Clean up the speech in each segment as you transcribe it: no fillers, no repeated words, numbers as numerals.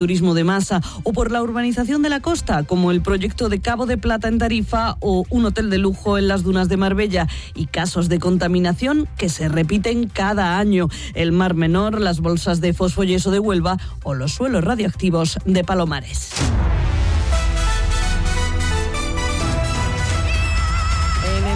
turismo de masa o por la urbanización de la costa, como el proyecto de Cabo de Plata en Tarifa o un hotel de lujo en las dunas de Marbella, y casos de contaminación que se repiten cada año: el Mar Menor, las bolsas de fosfoyeso de Huelva o los suelos radioactivos de Palomares.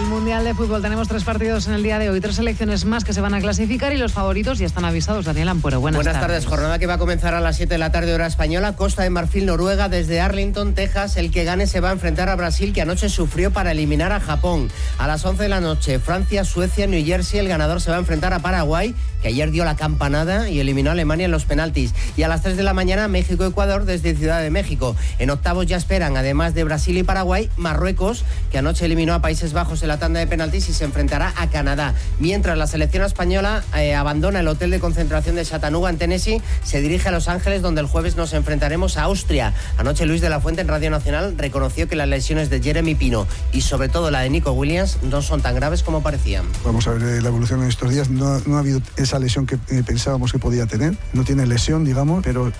Mundial de Fútbol tenemos 3 partidos en el día de hoy, 3 selecciones más que se van a clasificar y los favoritos ya están avisados. Daniel Ampuero, buenas tardes. Jornada que va a comenzar a las 7 de la tarde hora española. Costa de Marfil, Noruega, desde Arlington, Texas. El que gane se va a enfrentar a Brasil, que anoche sufrió para eliminar a Japón. A las 11 de la noche, Francia, Suecia, New Jersey. El ganador se va a enfrentar a Paraguay, que ayer dio la campanada y eliminó a Alemania en los penaltis. Y a las 3 de la mañana, México-Ecuador desde Ciudad de México. En octavos ya esperan, además de Brasil y Paraguay, Marruecos, que anoche eliminó a Países Bajos en la tanda de penaltis y se enfrentará a Canadá. Mientras la selección española abandona el hotel de concentración de Chattanooga en Tennessee, se dirige a Los Ángeles, donde el jueves nos enfrentaremos a Austria. Anoche Luis de la Fuente en Radio Nacional reconoció que las lesiones de Jeremy Pino y sobre todo la de Nico Williams no son tan graves como parecían. Vamos a ver la evolución en estos días. No ha habido esa lesión que pensábamos que podía tener. No tiene lesión, digamos, pero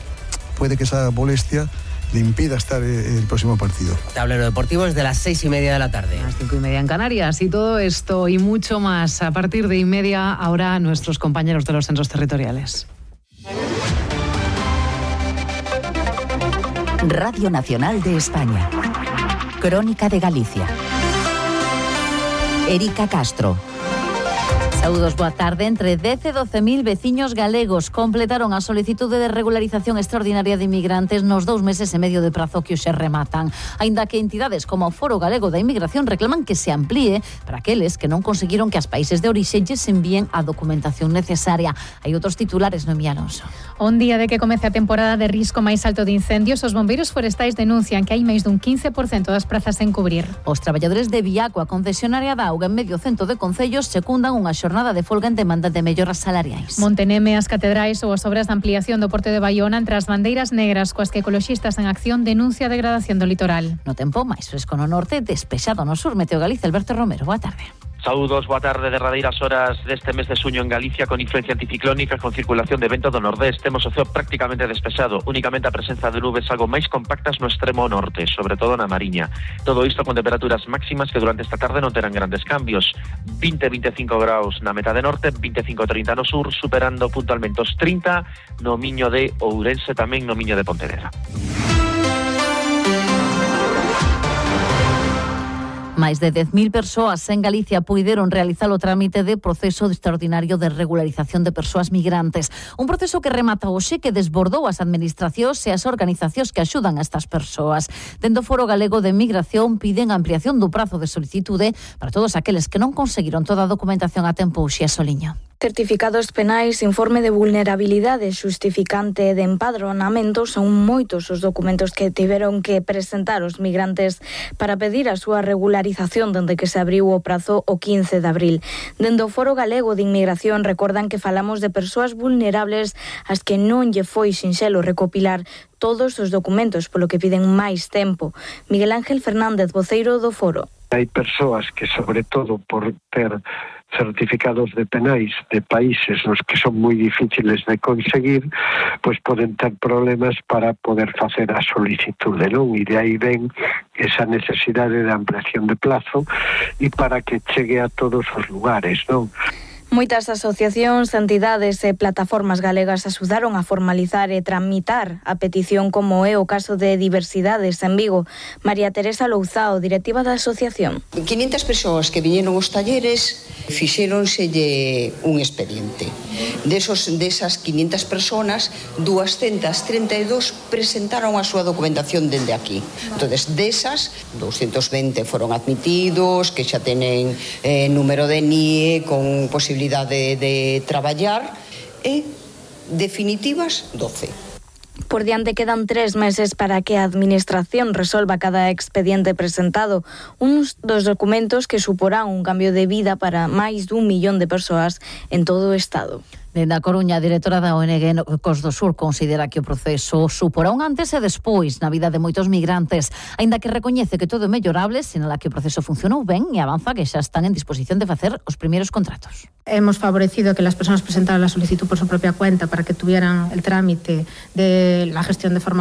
puede que esa molestia le impida estar el próximo partido. Tablero Deportivo es de las 6:30 de la tarde. A las 5:30 en Canarias. Y todo esto y mucho más a partir de 1:30 ahora nuestros compañeros de los centros territoriales. Radio Nacional de España. Crónica de Galicia. Erika Castro. Saúdos, boa tarde. Entre 10 e 12.000 veciños galegos completaron a solicitude de regularización extraordinaria de inmigrantes nos 2 meses e medio de prazo que hoxe rematan. Aínda que entidades como o Foro Galego da Inmigración reclaman que se amplíe para aqueles que non conseguiron que as países de orixe lles envíen a documentación necesaria. Hai outros titulares, Noemí Alonso. Un día de que comece a temporada de risco máis alto de incendios, os bombeiros forestais denuncian que hai máis dun 15% das prazas sen cubrir. Os traballadores de Viaco, a concesionaria da auga en medio cento de concellos, secundan unha xornada de folga en demanda de melloras salariais. Monteneme, as catedrais ou as obras de ampliación do Porto de Baiona entre as bandeiras negras coas que ecoloxistas en acción denuncia a degradación do litoral. No tempo, máis fresco no norte, despexado no sur. Meteo Galicia, Alberto Romero, boa tarde. Saúdos, boa tarde. Derradeiras horas deste mes de suño en Galicia con influencia anticiclónica con circulación de vento do nordés. Temos o ceo prácticamente despexado, únicamente a presenza de nubes algo máis compactas no extremo norte, sobre todo na Mariña. Todo isto con temperaturas máximas que durante esta tarde non terán grandes cambios. 20-25 graus na metade norte, 25-30 no sur, superando puntualmente os 30 no Miño de Ourense, tamén no Miño de Pontevedra. Máis de 10.000 persoas en Galicia puideron realizar o trámite de proceso extraordinario de regularización de persoas migrantes. Un proceso que remata hoxe, que desbordou as administracións e as organizacións que axudan a estas persoas. Dende o Foro Galego de Migración piden a ampliación do prazo de solicitude para todos aqueles que non conseguiron toda a documentación a tempo. Uxía Soliño. Certificados penais, informe de vulnerabilidade, xustificante de empadronamento, son moitos os documentos que tiveron que presentar os migrantes para pedir a súa regularización dende que se abriu o prazo o 15 de abril. Dende o Foro Galego de Inmigración recordan que falamos de persoas vulnerables ás que non lle foi sinxelo recopilar todos os documentos, polo que piden máis tempo. Miguel Ángel Fernández, voceiro do Foro. Hai persoas que, sobre todo por ter certificados de penais de países nos que son moi difíciles de conseguir, pois poden ter problemas para poder facer a solicitude, non? E de aí ven esa necesidade de ampliación de plazo e para que chegue a todos os lugares, non? Moitas asociacións, entidades e plataformas galegas axudaron a formalizar e tramitar a petición, como é o caso de Diversidades en Vigo. María Teresa Louzao, directiva da asociación. 500 persoas que viñeron aos talleres fixéronselle un expediente. Desas 500 persoas, 232 presentaron a súa documentación dende aquí. Entonces, desas, 220 foron admitidos, que xa tenen número de NIE con posibilidade de traballar, e definitivas 12. Por diante quedan 3 meses para que a Administración resolva cada expediente presentado, uns dos documentos que suporán un cambio de vida para máis dun millón de persoas en todo o Estado. Dende a Coruña, a directora da ONG Cos do Sur considera que o proceso suporá un antes e despois na vida de moitos migrantes, aínda que recoñece que todo é mellorable, sinala que o proceso funcionou ben e avanza que xa están en disposición de facer os primeiros contratos. Hemos favorecido que las personas presentaran la solicitud por su propia cuenta para que tuvieran el trámite de la gestión de forma